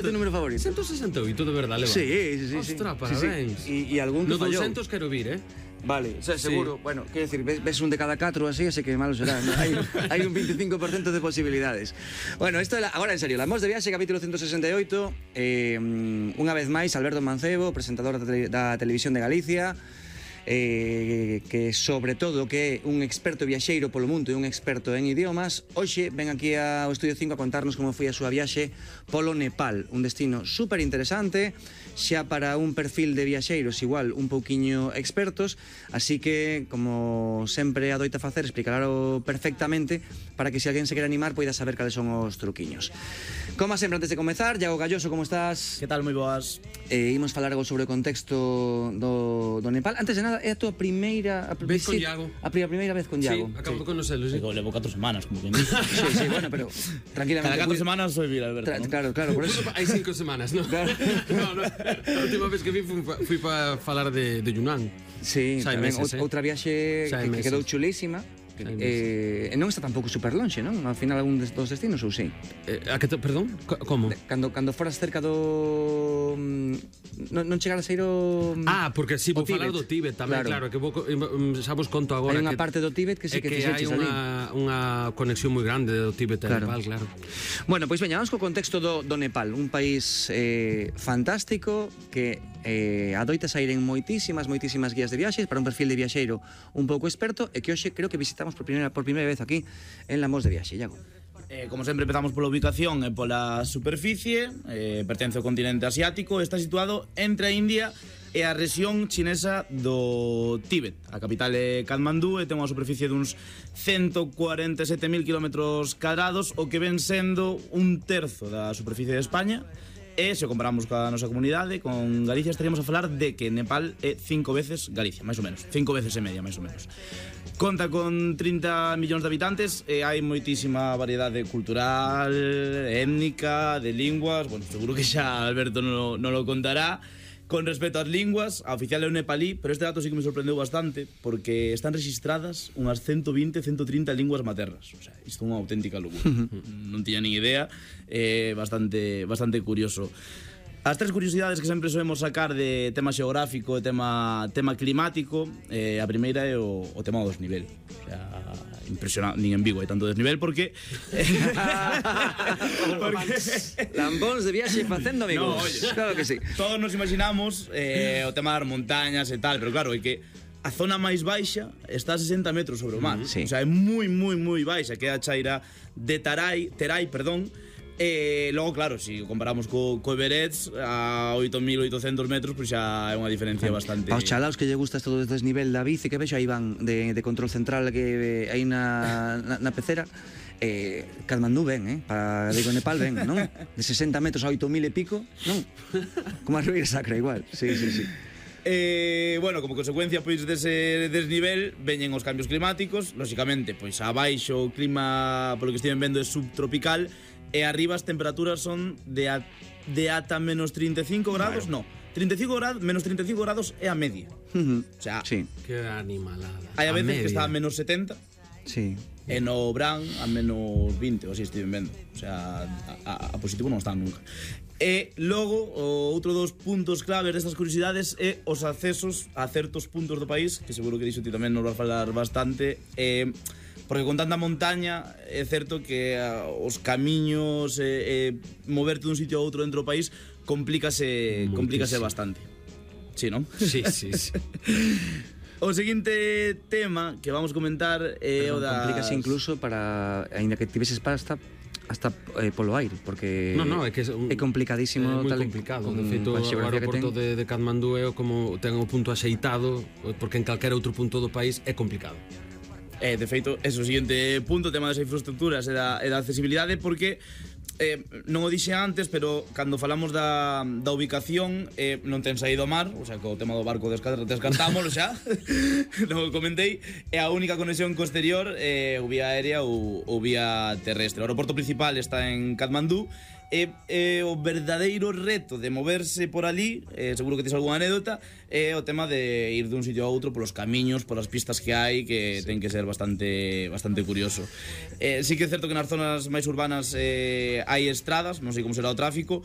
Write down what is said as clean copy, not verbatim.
Tu número favorito? 168, de verdade, Leva. Sí. Ostras, parabéns. E algún que No fallou. 200 quero vir, Vale, o sea, seguro, bueno, quero decir, ves un de cada 4 así que malo será, ¿no? Hai un 25% de posibilidades. Bueno, isto agora en serio, La Mos de Viaxe, capítulo 168. Unha vez máis, Alberto Mancebo, presentador da Televisión de Galicia, que sobre todo que é un experto viaxeiro polo mundo e un experto en idiomas. Hoxe ven aquí ao Estudio 5 a contarnos como foi a súa viaxe polo Nepal, un destino super interesante, xa para un perfil de viaxeiros igual un pouquiño expertos, así que, como sempre adoita facer, explicarlo perfectamente para que se alguén se quere animar poida saber cales son os truquiños. Como sempre, antes de comezar, Iago Galloso, como estás? Que tal, moi boas? Imos falar algo sobre o contexto do Nepal. Antes de nada, é a tua primeira Vez con Iago. A primeira vez con Iago. Sí, acabo de conocerlo, sí. Levo 4 semanas, como que me dice. Sí, bueno, pero tranquilamente. Cada 4 semanas soy vir, Alberto, ¿no? Claro, por eso. Hai 5 semanas, ¿no? Claro. No. A última vez que fui para falar de Yunnan. Sí, tamén outra viaxe que quedou chulísima. Non está tampouco super lonxe, non? Ao final algún dos destinos, ou sí? Perdón? Como? Cando foras cerca do... Non chegar a ser o... Porque si vou falar do Tíbet tamén, claro, que xa vos conto agora. Hai unha parte do Tíbet que sí que fixeches ali. Hai unha conexión moi grande do Tíbet e Nepal, claro. Bueno, pois veña, vamos co contexto do Nepal, un país fantástico que adoita sair en moitísimas guías de viaxes para un perfil de viaxeiro un pouco experto e que hoxe creo que visitamos por primeira vez aquí en La Mos de Viaxe, Iago. Como sempre, empezamos pola ubicación e pola superficie. Pertence ao continente asiático. Está situado entre a India e a rexión chinesa do Tíbet. A capital é Katmandú e ten unha superficie duns 147.000 km², o que ven sendo un terzo da superficie de España. E se comparamos coa nosa comunidade, con Galicia, estaríamos a falar de que Nepal é 5 veces Galicia, máis ou menos, 5 veces e media, máis ou menos. Conta con 30 millóns de habitantes e hai moitísima variedade cultural, étnica, de linguas. Bueno, seguro que xa Alberto non lo contará. Con respecto ás linguas, a oficial é o nepalí, pero este dato sí que me sorprendeu bastante porque están registradas unhas 120, 130 linguas maternas. O sea, isto é unha auténtica locura. Non tiña nin idea, bastante curioso. As tres curiosidades que sempre solemos sacar de tema xeográfico e tema climático, a primeira é o tema do desnivel. O sea, impresionante, nin en Vigo hai tanto desnivel porque Lambóns de viaxe facendo amigos. No, oye, claro que sí. Todos nos imaginamos o tema das montañas e tal, pero claro, é que a zona máis baixa está a 60 metros sobre o mar. Sí. O sea, é moi baixa, que é a chaira de Terai, logo, claro, se comparamos co Everest a 8.800 metros, pois xa é unha diferencia bastante... Aos chalaos que lle gusta isto do desnivel da bici, que vexo aí van de control central que hai na pecera. Katmandú ven, digo Nepal ven, non? De 60 metros a 8.000 e pico, non? Como a Ribeira Sacra igual, sí. Bueno, como consecuencia pois dese desnivel veñen os cambios climáticos. Lóxicamente, pois abaixo o clima, polo que estiven vendo, é subtropical. E arriba as temperaturas son de ata menos 35 grados, no, 35 grados, menos 35 grados é a media. O sea, sí. Que animalada. Hai a veces que está a menos 70. Sí. E no Bran a menos 20, ou así estiven vendo. O sea, a positivo non está nunca. E logo, outro dos puntos claves destas curiosidades é os accesos a certos puntos do país, que seguro que dixo ti tamén nos vas falar bastante. Porque con tanta montaña é certo que os camiños moverte dun sitio a outro dentro do país complícase bastante. Sí, non? Sí. O seguinte tema que vamos comentar é o da... Complícase incluso para, aínda que tiveses hasta polo aire, porque é que é complicadísimo. É moi complicado. De feito, o aeroporto de Katmandú é como ten o punto axeitado, porque en calquera outro punto do país é complicado. De feito, ese é o seguinte punto, o tema das infraestructuras e da accesibilidade, porque non o dixe antes, pero cando falamos da ubicación, non ten saído ao mar, o sea, que o tema do barco descartámoslo xa, non o comentei, é a única conexión co exterior, ou vía aérea ou vía terrestre. O aeroporto principal está en Katmandú, e o verdadeiro reto de moverse por ali, seguro que tens algunha anécdota, é o tema de ir dun sitio a outro polos camiños, polas pistas que hai, que ten que ser bastante curioso. Sí que é certo que nas zonas máis urbanas hai estradas, non sei como será o tráfico,